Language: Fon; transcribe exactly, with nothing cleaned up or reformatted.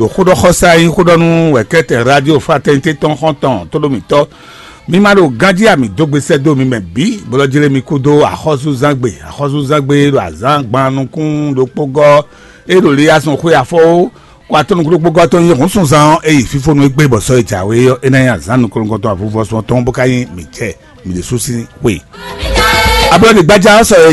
Ɖo xóɖɔxɔsá e nyí xóɖɔnú wɛ̌kɛ́tɛn Radio Fraternité tɔn xɔ́ntɔn tóɖómítɔ́, mi ma ɖo ganjí ami dó gbe sɛ́ dó mi mɛ bǐ, bó lɔ́ jlé mi kúdó axɔ́súzángbe. Axɔ́súzángbe ɖo azǎn gban nukún ɖokpó gɔ́, é ɖo Liyasun xwé afɔwó, kó atɔ́ nukún ɖokpó gɔ́ tɔn nyí hǔnsunzán ɔ́, é yi fífónú égbé bɔ sɔ́ e jǎwe ɔ́, é ná nyí azǎn nukɔn-nukɔntɔn avuvɔ́sún ɔ́ tɔn, bó ka nyí mǐ jɛ mǐ ɖésú sín xwe. Ablɔ́ɖigbájá ɔ́ sɔ e